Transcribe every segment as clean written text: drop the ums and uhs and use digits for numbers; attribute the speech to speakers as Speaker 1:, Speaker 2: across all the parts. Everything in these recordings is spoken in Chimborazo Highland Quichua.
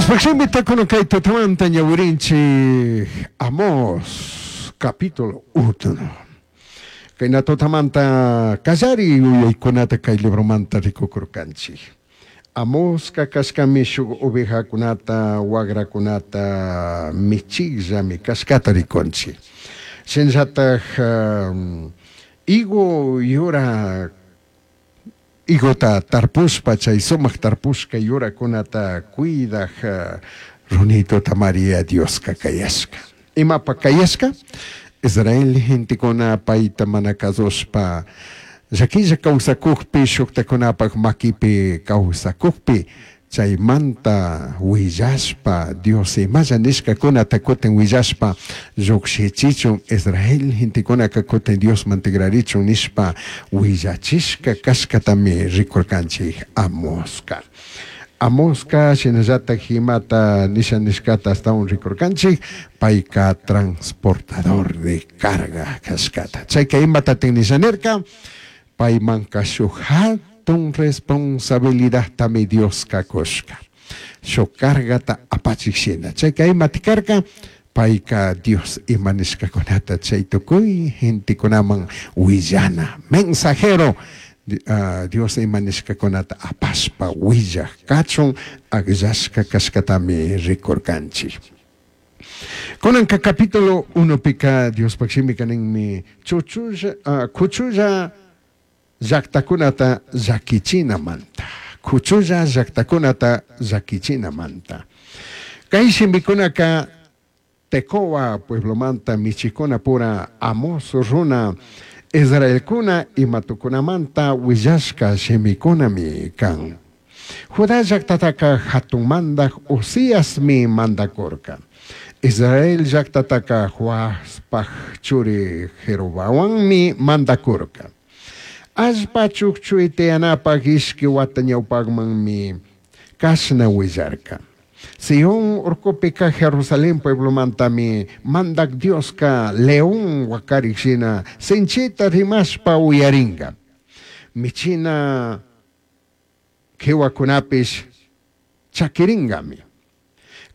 Speaker 1: Diospaj shimita kunan kay tutamanta ñawirinchik Amós capítulo 1. Kayna tutamanta kallari yuyaykunata kay libromanta rikukurkanchik. Amosca kashkami shuk ovejakunata, wagrakunata michikllami kashkata rikunchik. Shinallatak higo yura higota tarpushpa chay sumak tarpushka yurakunata cuidak runituta María Dioska kayashka. Imapa kayashka? Israel gentekuna payta mana kasushpa llaquilla kawsakukpi shuktakunapak makipi kawsakukpi chaymanta huillashpa Dios imalla nishkakunata kutin huillashpa llukshichichun Israel gentekunaka kutin Diosman tigrarichun nishpa huillachishka kashkatami rikurkanchik Amoska. Amoska shinallatak imata nisha nishkata ashtawan rikurkanchik payka transportador de carga kashkata. Chayka imatatin nisha nirka paymanka shuk hatun responsabilidadtami Dioska kushka. Shuk cargata apachik shina. Chayka imati karka payka Dios ima nishkakunata chay tukuy gentekunaman willana mensajero Dios ima nishkakunata apashpa willak kachun akllashka kashkatami rikurkanchik. Kunanka capítulo 1 pika Diospaj shimika ninmi chuchulla kuchulla llaktakunata llakichinamanta. Kuchulla llaktakunata llakichinamanta. Kay shimikunaka Tecoa pueblomanta michikuna pura Amos runa Israelkuna imatukunamanta willashka shimikunami kan. Judá llaktataka hatun mandak Uziasmi mandakurka. Israel llaktataka Joaspaj churi Jeroboammi mandakurka. Allpa chukchuy tiyanapak ishki wata ñawpakmanmi kashna willarka. Sion urkupika Jerusalén pueblomantami mandak Dioska león wakarik shina sinchita rimashpa uyaringa. Michina kiwakunapish chakiringami.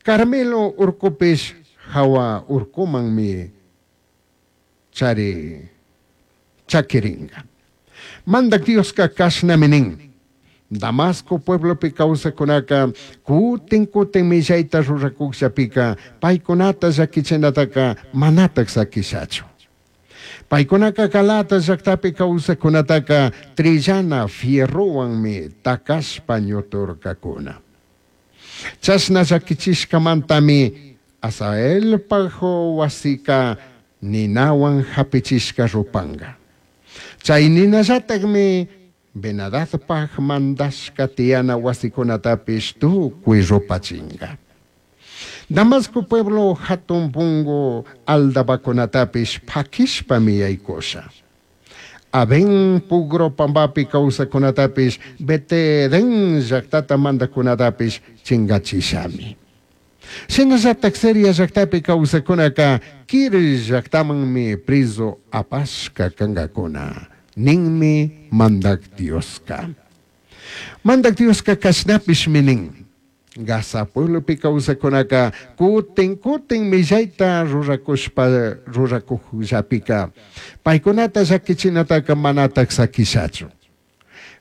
Speaker 1: Carmelo urkupish hawa urkumanmi chari chakiringa. Mandak Dioska kashnami nin. Damasco pueblopi kawsakunaka kutin kutin millayta rurakukllapika paykunata llakichinataka manatak sakishachu. Paykunaka Galata llaktapi kawsakunataka trillana fierrowanmi takashpa ñuturkakuna. Chashna llakichishkamantami Azaelpaj wasika ninawan hapichishka rupanka. Chay ninallatakmi Benadadpaj mandashka tiyana wasikunatapish tukuy rupachinka. Damasco pueblo hatun pungu aldabakunatapish pakishpami yaykusha. Aven pugro pambapi kawsakunatapish Beteden llaktata mandakunatapish chingachishami. Shinallatak Siria llaktapi kawsakunaka Kir llaktamanmi preso apashka kankakuna. Ninmi mandak Dioska. Mandak Dioska kashnapishmi nin. Gaza pueblopi kawsakunaka kutin kutin millayta rurakushpa rurakukllapika paykunata llakichinataka manatak sakishachu.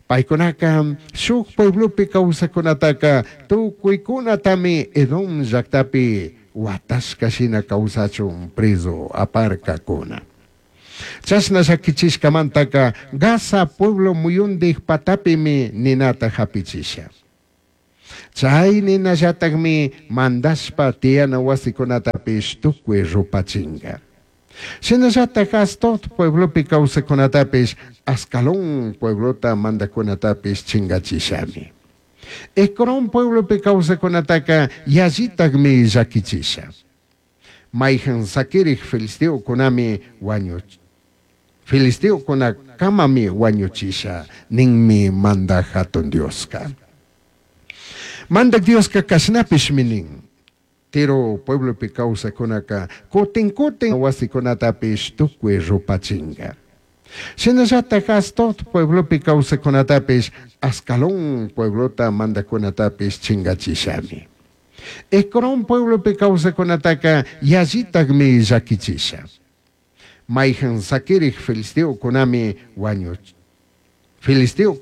Speaker 1: Paykunaka shuk pueblopi kawsakunataka tukuykunatami Edom llaktapi watashka shina kawsachun preso aparkakuna. Chashna llakichishkamantaka Gaza pueblo muyundik patapimi ninata hapichisha. Chay ninallatakmi mandashpa tiyana wasikunatapish tukuy rupachinka. Shinallatak Asdod pueblopi kawsakunatapish Ascalón pueblota mandakunatapish chingachishami. Ecrón pueblopi kawsakunataka yallitakmi llakichisha. Mayhan sakirik filisteokunami wañu filisteokunakamami wañuchisha ninmi mandak hatun Dioska. Mandak Dioska kashnapishmi nin. Tiro pueblopi kawsakunaka kutin kutin wasikunatapish tukuy rupachinka. Shinallatak Asdod pueblopi kawsakunatapish Ascalón pueblota mandakunatapish chingachishami. Ecrón pueblopi causajcunataca yallitajmi llaquichisha. Maijan saquirij filisteocunami huañu filisteocuna.